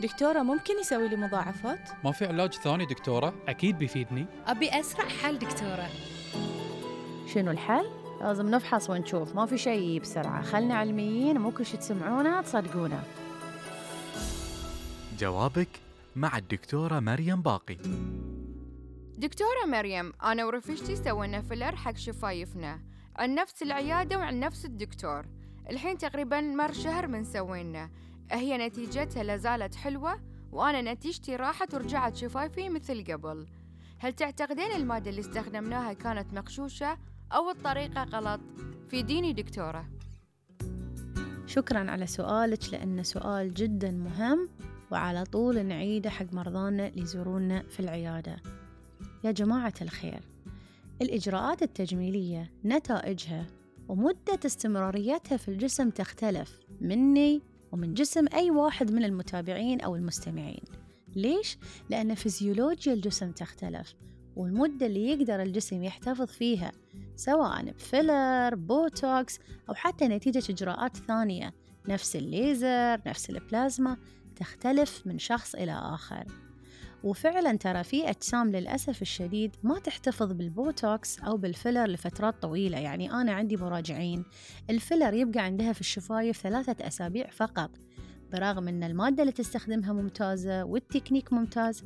دكتورة ممكن يسوي لي مضاعفات؟ ما في علاج ثاني دكتورة؟ أكيد بيفيدني. أبي أسرع حل دكتورة. شنو الحل؟ لازم نفحص ونشوف، ما في شيء بسرعة، خلنا علميين، مو كل شي تسمعونه تصدقونه. جوابك مع الدكتورة مريم باقي. دكتورة مريم، أنا ورفيجتي سوينا فيلر حق شفايفنا عن نفس العيادة وعن نفس الدكتور. الحين تقريباً مر شهر من سوينا، هي نتيجتها لازالت حلوة، وأنا نتيجتي راحت ورجعت شفايفي مثل قبل. هل تعتقدين المادة اللي استخدمناها كانت مغشوشة أو الطريقة غلط؟ فيديني دكتورة. شكراً على سؤالك، لأنه سؤال جداً مهم وعلى طول نعيده حق مرضانا اللي يزورونا في العيادة. يا جماعة الخير، الإجراءات التجميلية نتائجها ومدة استمراريتها في الجسم تختلف مني ومن جسم أي واحد من المتابعين أو المستمعين. ليش؟ لأن فيزيولوجيا الجسم تختلف، والمدة اللي يقدر الجسم يحتفظ فيها سواء بفيلر، بوتوكس، أو حتى نتيجة إجراءات ثانية نفس الليزر، نفس البلازما، تختلف من شخص إلى آخر. وفعلا ترى في أجسام للأسف الشديد ما تحتفظ بالبوتوكس أو بالفيلر لفترات طويلة. يعني أنا عندي مراجعين الفيلر يبقى عندها في الشفايف 3 أسابيع فقط، برغم أن المادة اللي تستخدمها ممتازة والتكنيك ممتاز،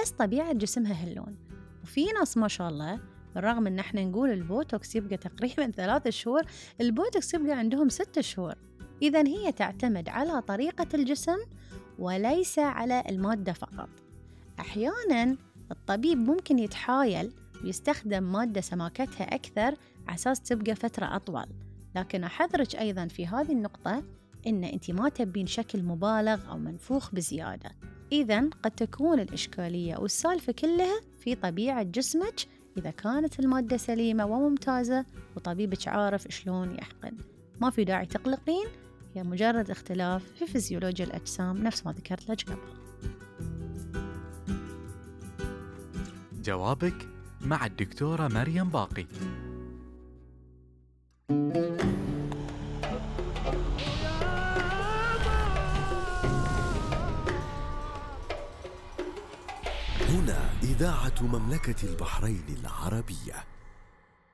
بس طبيعة جسمها هاللون. وفي ناس ما شاء الله بالرغم أن احنا نقول البوتوكس يبقى تقريبا 3 شهور، البوتوكس يبقى عندهم 6 شهور. إذن هي تعتمد على طريقة الجسم وليس على المادة فقط. أحياناً الطبيب ممكن يتحايل ويستخدم مادة سماكتها أكثر عساس تبقى فترة أطول، لكن أحذرك أيضاً في هذه النقطة إن أنت ما تبين شكل مبالغ أو منفوخ بزيادة. إذن قد تكون الإشكالية والسالفة كلها في طبيعة جسمك إذا كانت المادة سليمة وممتازة وطبيبك عارف شلون يحقن. ما في داعي تقلقين، هي مجرد اختلاف في فيزيولوجيا الأجسام نفس ما ذكرت لك قبل. جوابك مع الدكتورة مريم باقي. هنا إذاعة مملكة البحرين العربية.